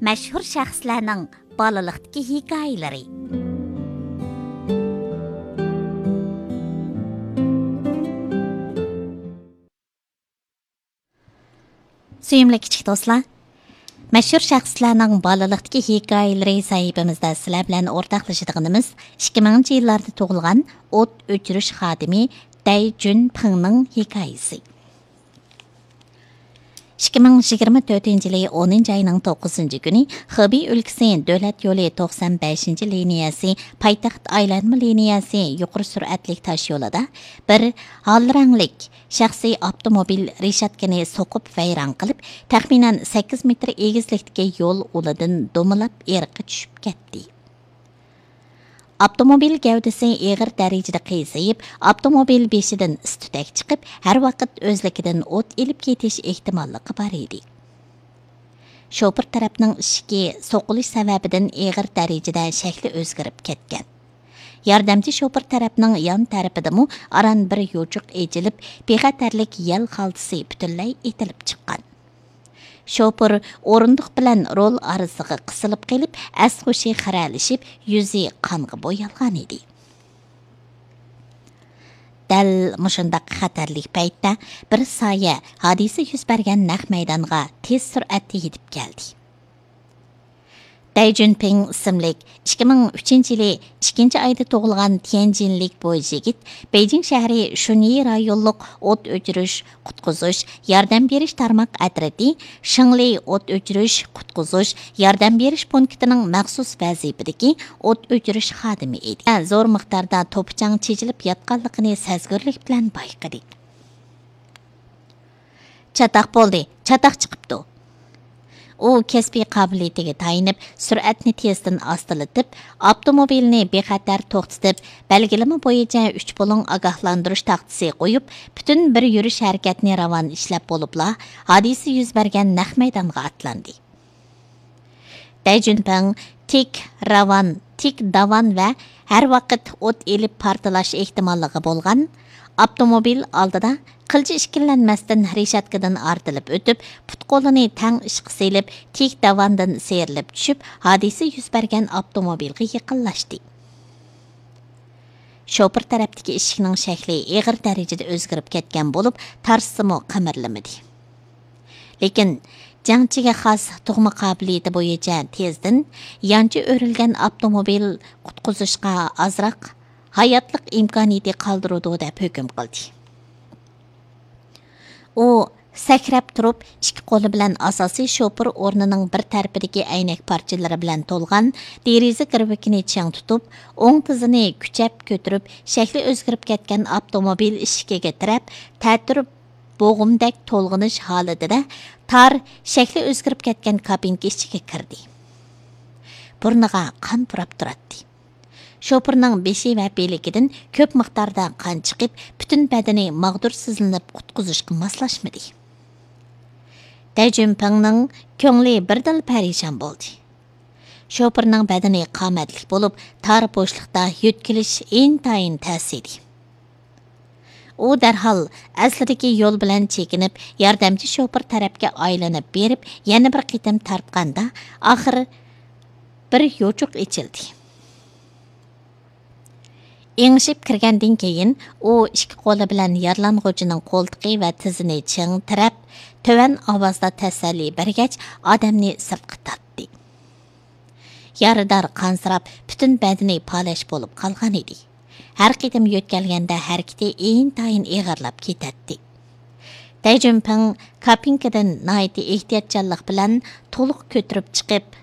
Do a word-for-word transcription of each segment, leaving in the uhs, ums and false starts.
مەشھۇر شەخسلەرنىڭ بالىلىقتىكى ھېكايىلىرى. سۆيۈملۈك كىچىك دوستلار، مەشھۇر شەخسلەرنىڭ بالىلىقتىكى ھېكايىلىرى سەھىپىمىزدە سىلەر بىلەن ئورتاقلىشىدىغىنىمىز ئىككى مىڭىنچى يىللاردا تۇغۇلغان ئوت ئۆچۈرۈش خادىمى دەي جۈنپىڭنىڭ ھېكايىسى. ئىككى مىڭ يىگىرمە تۆتىنچى يىلى ئونىنچى ئاينىڭ توققۇزىنچى كۈنى خېبېي ئۆلكىسى دۆلەت يولى توقسان بەشىنچى لىنىيەسى پايتەخت ئايلانما لىنىيەسى يۇقىرى سۈرئەتلىك تاش يولىدا بىر ھال رەڭلىك شەخسىي ئاپتوموبىل رېشاتكىنى سوقۇپ ۋەيران قىلىپ، تەخمىنەن سەككىز مېتىر ئېگىزلىكتىكى يول ئۇلىدىن دومىلاپ ئېرىققا چۈشۈپ كەتتى. ئاپتوموبىل گەۋدىسى ئېغىر دەرىجىدە قىيسىيىپ، ئاپتوموبىل بېشىدىن ئىس-تۈتەك چىقىپ، ھەر ۋاقىت ئۆزلۈكىدىن ئوت ئېلىپ كېتىش ئېھتىماللىقى بار ئىدى. شوپۇر تەرەپنىڭ ئىشىكى سوقۇلۇش سەۋەبىدىن ئېغىر دەرىجىدە شەكلى ئۆزگىرىپ كەتكەن. ياردەمچى شوپۇر تەرەپنىڭ يان تەرىپىدىمۇ ئاران بىر يوچۇق ئېچىلىپ، بىخەتەرلىك يەل خالتىسى پۈتۈنلەي ئېتىلىپ چىققان. شوپۇر ئورۇندۇق بىلەن رول ئارىسىغا قىسىلىپ قېلىپ، ئەس-ھوشى خىرەلىشىپ، يۈزى قانغا بويالغان ئىدى. دەل مۇشۇنداق خەتەرلىك پەيتتە بىر سايە ھادىسە يۈز بەرگەن نەق مەيدانغا تېز سۈرئەتتە يېتىپ كەلدى. دەي جۈنپىڭ ئىسىملىك ئىككى مىڭ ئۈچىنچى يىلى ئىككىنچى ئايدا تۇغۇلغان تيەنجىنلىك بويىچ يىگىت بېيجىڭ شەھىرى شۇنيى رايونلۇق ئوت ئۆچۈرۈش، قۇتقۇزۇش، ياردەم بېرىش تارماق ئەترىتى شىڭلى ئوت ئۆچۈرۈش، قۇتقۇزۇش، ياردەم بېرىش پونكىتىنىڭ مەخسۇس ۋەزىپىدىكى ئوت ئۆچۈرۈش خادىمى ئىدى. زور مىقداردا توپا-چاڭ چېچىلىپ ياتقانلىقىنى سەزگۈرلۈك بىلەن بايقىدى. چاتاق بولدى، چاتاق چىقىپتۇ. ئۇ كەسپىي قابىلىيىتىگە تايىنىپ، سۈرئەتنى تېزدىن ئاستىلىتىپ، ئاپتوموبىلنى بىخەتەر توختىتىپ، بەلگىلىمە بويىچە ئۈچ بۇلۇڭ ئاگاھلاندۇرۇش تاختىسى قويۇپ، پۈتۈن بىر يۈرۈش ھەرىكەتنى راۋان ئىشلەپ بولۇپلا، ھادىسە يۈز بەرگەن نەق مەيدانغا ئاتلاندى. دەي جۈنپىڭ تىك راۋان، تىك داۋان ۋە ھەر ۋاقىت ئوت ئېلىپ پارتلاش ئېھتىماللىقى بولغان ئاپتوموبىل ئالدىدا قىلچە ئىككىلەنمەستىن رېشاتكىدىن ئارتىلىپ ئۆتۈپ، پۇت-قولىنى تەڭ ئىشقا سېلىپ، تىك داۋاندىن سىيرىلىپ چۈشۈپ، ھادىسە يۈز بەرگەن ئاپتوموبىلغا يېقىنلاشتى. شوپۇر تەرەپتىكى ئىشىكنىڭ شەكلى ئېغىر دەرىجىدە ئۆزگىرىپ كەتكەن بولۇپ، تارتسىمۇ قىمىرلىمىدى. لېكىن جەڭچىگە خاس تۇغما قابىلىيىتى بويىچە تېزدىن يانچە ئۆرۈلگەن ئاپتوموبىل قۇتقۇزۇشقا ئازراق ھاياتلىق ئىمكانىيىتى قالدۇرىدۇ دەپ ھۆكۈم قىلدى. ئۇ سەكرەپ تۇرۇپ، ئىككى قولى بىلەن ئاساسىي شوپۇر ئورنىنىڭ بىر تەرىپىدىكى ئەينەك پارچىلىرى بىلەن تولغان دېرىزە گىرۋىكىنى چىڭ تۇتۇپ، ئوڭ تىزىنى كۈچەپ كۆتۈرۈپ، شەكلى ئۆزگىرىپ كەتكەن ئاپتوموبىل ئىشىكىگە تىرەپ، تەتۈر بوغۇمدەك تولغىنىش ھالىتىدە تار، شەكلى ئۆزگىرىپ كەتكەن كابىنكا ئىچىگە كىردى. بۇرنىغا قان پۇراپ تۇراتتى. شوپۇرنىڭ بېشى ۋە بىلىكىدىن كۆپ مىقداردا قان چىقىپ، پۈتۈن بەدىنى ماغدۇرسىزلىنىپ، قۇتقۇزۇشقا ماسلاشمىدى. دەي جۈنپىڭنىڭ كۆڭلى بىردىنلا پەرىشان بولدى. شوپۇرنىڭ بەدىنى قامەتلىك بولۇپ، تار بوشلۇقتا يۆتكىلىش ئىنتايىن تەس ئىدى. ئۇ دەرھال ئەسلىدىكى يول بىلەن چېكىنىپ، ياردەمچى شوپۇر تەرەپكە ئايلىنىپ بېرىپ، يەنە بىر قېتىم تارتقاندا، ئاخىر بىر يوچۇق ئېچىلدى. ئېڭىشىپ كىرگەندىن كېيىن، ئۇ ئىككى قولى بىلەن يارىلانغۇچىنىڭ قولتۇقى ۋە تىزىنى چىڭ تىرەپ، تۆۋەن ئاۋازدا تەسەللى بەرگەچ، ئادەمنى سىرتقا تارتتى. يارىدار قانسىراپ، پۈتۈن بەدىنى پالەچ بولۇپ قالغان ئىدى. ھەر قېتىم يۆتكەلگەندە ھەرىكىتى ئىنتايىن ئېغىرلاپ كېتەتتى. دەي جۈنپىڭ كابىنكىدىن ناھايىتى ئېھتىياتچانلىق بىلەن تولۇق كۆتۈرۈپ چىقىپ،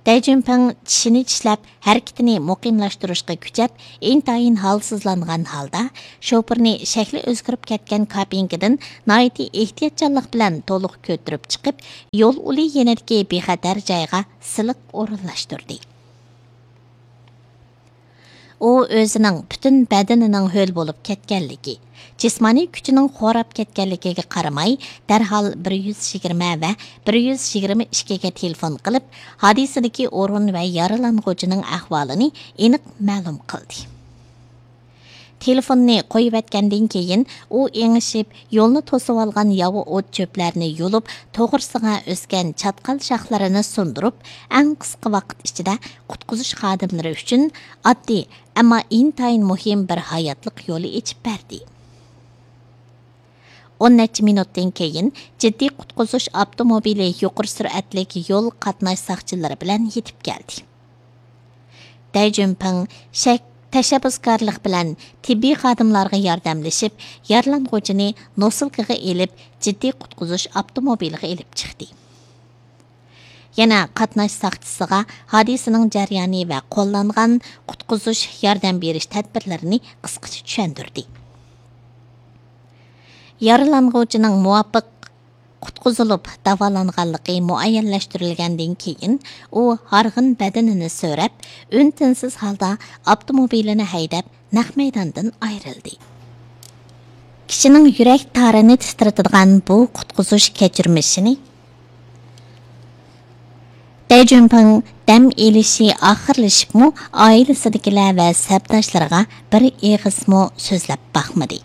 دەي جۈنپىڭ چىشىنى چىشلەپ، ھەرىكىتىنى مۇقىملاشتۇرۇشقا كۈچەپ، ئىنتايىن ھالسىزلانغان ھالدا شوپۇرنى شەكلى ئۆزگىرىپ كەتكەن كابىنكىدىن ناھايىتى ئېھتىياتچانلىق بىلەن تولۇق كۆتۈرۈپ چىقىپ، يول ئۇلى يېنىدىكى بىخەتەر جايغا سىلىق ئورۇنلاشتۇردى. ئۇ ئۆزىنىڭ پۈتۈن بەدىنىنىڭ ھۆل بولۇپ كەتكەنلىكى، جىسمانىي كۈچىنىڭ خوراپ كەتكەنلىكىگە قارىماي، دەرھال بىر يۈز يىگىرمە ۋە بىر يۈز يىگىرمە ئىككىگە تېلېفون قىلىپ، ھادىسىدىكى ئورۇن ۋە يارىلانغۇچىنىڭ ئەھۋالىنى ئېنىق مەلۇم قىلدى. تېلېفوننى قويۇۋەتكەندىن كېيىن، ئۇ ئېڭىشىپ، يولنى توسۇۋالغان ياۋا ئوت-چۆپلەرنى يۇلۇپ، توغرىسىغا ئۆسكەن چاتقال شاخلىرىنى سۇندۇرۇپ، ئەڭ قىسقا ۋاقىت ئىچىدە قۇتقۇزۇش خادىملىرى ئۈچۈن ئاددىي، ئەمما ئىنتايىن مۇھىم بىر ھاياتلىق يولى ئېچىپ بەردى. ئون نەچچە مىنۇتتىن كېيىن، جىددىي قۇتقۇزۇش ئاپتوموبىلى يۇقىرى سۈرئەتلىك يول قاتناش ساقچىلىرى بىلەن يېتىپ كەلدى. دەي جۈنپىڭ شەك-، تەشەببۇسكارلىق بىلەن تېببىي خادىملارغا ياردەملىشىپ، يارىلانغۇچىنى نوسۇلكىغا ئېلىپ، جىددىي قۇتقۇزۇش ئاپتوموبىلىغا ئېلىپ چىقتى. يەنە قاتناش ساقچىسىغا ھادىسىنىڭ جەريانى ۋە قوللانغان قۇتقۇزۇش، ياردەم بېرىش تەدبىرلىرىنى قىسقىچە چۈشەندۈردى. يارىلانغۇچىنىڭ مۇۋاپىق قۇتقۇزۇلۇپ داۋالانغانلىقى مۇئەييەنلەشتۈرۈلگەندىن كېيىن، ئۇ ھارغىن بەدىنىنى سۆرەپ، ئۈن-تىنسىز ھالدا ئاپتوموبىلىنى ھەيدەپ، نەق مەيداندىن ئايرىلدى. كىشىنىڭ يۈرەك تارىنى تىترىتىدىغان بۇ قۇتقۇزۇش كەچۈرمىشىنى دەي جۈنپىڭ دەم ئېلىشى ئاخىرلىشىپمۇ، ئائىلىسىدىكىلەر ۋە سەپداشلىرىغا بىر ئېغىزمۇ سۆزلەپ باقمىدى.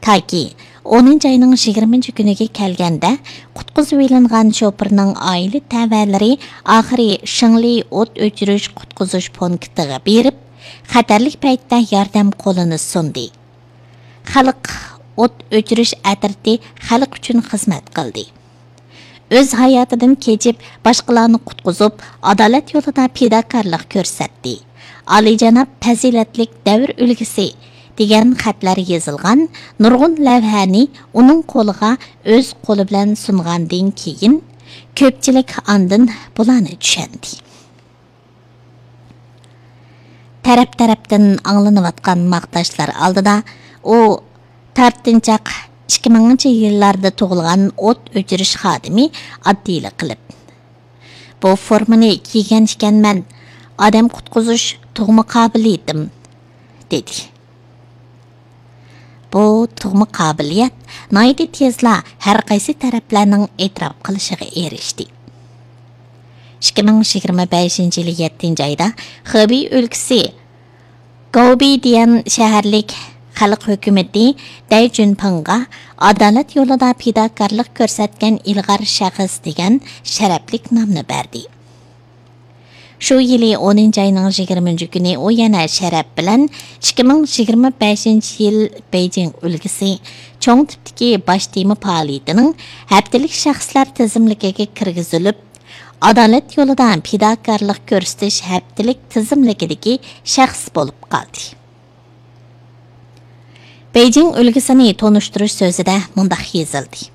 تاكى ئونىنچى ئاينىڭ يىگىرمىنچى كۈنىگە كەلگەندە، قۇتقۇزۇۋېلىنغان شوپۇرنىڭ ئائىلە تەۋەلىرى ئاخىرى شېڭلى ئوت ئۆچۈرۈش قۇتقۇزۇش پونكىتىغا بېرىپ، خەتەرلىك پەيتتە ياردەم قولىنى سۇندى. خەلق ئوت ئۆچۈرۈش ئەترىتى خەلق ئۈچۈن خىزمەت قىلدى. ئۆز ھاياتىدىن كېچىپ، باشقىلارنى قۇتقۇزۇپ، ئادالەت يولىدا پىداكارلىق كۆرسەتتى. ئالىيجاناب پەزىلەتلىك دەۋر ئۈلگىسى دېگەن خەتلەر يېزىلغان نۇرغۇن لەۋھەنى ئۇنىڭ قولىغا ئۆز قولى بىلەن سۇنغاندىن كېيىن، كۆپچىلىك ئاندىن بۇلارنى چۈشەندى. تەرەپ-تەرەپتىن ئاڭلىنىۋاتقان ماختاشلار ئالدىدا ئۇ تارتىنچاق ئىككى مىڭىنچى يىللاردا تۇغۇلغان ئوت ئۆچۈرۈش خادىمى ئاددىيلا قىلىپ، «بۇ فورمىنى كىيگەن ئىكەنمەن، ئادەم قۇتقۇزۇش تۇغما قابىلىيىتىم» دېدى. بۇ تۇغما قابىلىيەت ناھايىتى تېزلا ھەر قايسى تەرەپلەرنىڭ ئېتىراپ قىلىشىغا ئېرىشتى. ئىككى مىڭ يىگىرمە بەشىنچى يىلى يەتتىنچى ئايدا خېبېي ئۆلكىسى گاۋبېيدىيەن شەھەرلىك خەلق ھۆكۈمىتى دەي جۈنپىڭغا ئادالەت يولىدا پىداكارلىق كۆرسەتكەن ئىلغار شەخس دېگەن شەرەپلىك نامنى بەردى. شۇ يىلى ئونىنچى ئاينىڭ يىگىرمىنچى كۈنى ئۇ يەنە شەرەپ بىلەن ئىككى مىڭ يىگىرمە بەشىنچى يىل بېيجىڭ ئۈلكىسى چوڭ تىپتىكى باش تېما پائالىيىتىنىڭ ھەپتىلىك شەخسلەر تىزىملىكىگە كىرگۈزۈلۈپ، ئادالەت يولىدا پىداكارلىق كۆرسىتىش ھەپتىلىك تىزىملىكىدىكى شەخس بولۇپ قالدى. بېيجىڭ ئۈلگىسىنى تونۇشتۇرۇش سۆزىدە مۇنداق يېزىلدى: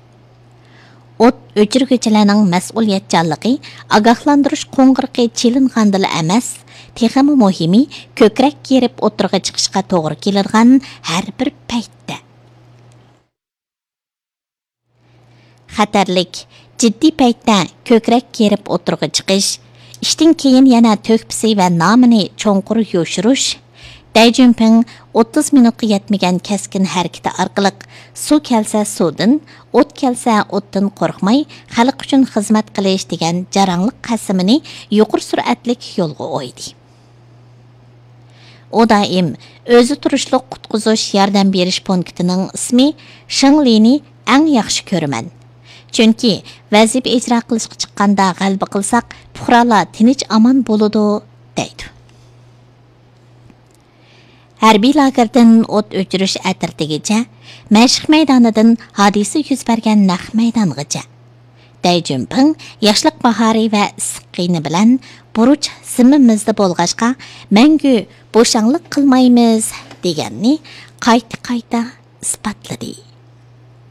«ئوت ئۆچۈرگۈچىلەرنىڭ مەسئۇلىيەتچانلىقى ئاگاھلاندۇرۇش قوڭغۇرىقى چېلىنغاندىلا ئەمەس، تېخىمۇ مۇھىمى، كۆكرەك كېرىپ ئوتتۇرىغا چىقىشقا توغرا كېلىدىغان ھەر بىر پەيتتە.» خەتەرلىك، جىددىي پەيتتە كۆكرەك كېرىپ ئوتتۇرىغا چىقىش، ئىشتىن كېيىن يەنە تۆھپىسى ۋە نامىنى چوڭقۇر يوشۇرۇش، دەي جۈنپىڭ ئوتتۇز مىنۇتقا يەتمىگەن كەسكىن ھەرىكىتى ئارقىلىق سۇ كەلسە سۇدىن، ئوت كەلسە ئوتتىن قورقماي، خەلق ئۈچۈن خىزمەت قىلىش دېگەن جاراڭلىق قەسىمىنى يۇقىرى سۈرئەتلىك يولغا قويدى. ئۇ دائىم ئۆزى تۇرۇشلۇق قۇتقۇزۇش ياردەم بېرىش پونكىتىنىڭ ئىسمى شېڭلىنى ئەڭ ياخشى كۆرىمەن. چۈنكى ۋەزىپە ئىجرا قىلىشقا چىققاندا غەلىبە قىلساق، پۇقرالار تىنچ ئامان بولىدۇ، دەيدۇ. ھەربىي لاگېردىن ئوت ئۆچۈرۈش ئەترىتىگىچە، مەشىق مەيدانىدىن ھادىسە يۈز بەرگەن نەق مەيدانغىچە، دەي جۈنپىڭ ياشلىق باھارى ۋە ئىسسىق قېنى بىلەن بۇرچ زىممىمىزدە بولغاچقا، مەڭگۈ بوشاڭلىق قىلمايمىز دېگەننى قايتا-قايتا ئىسپاتلىدى.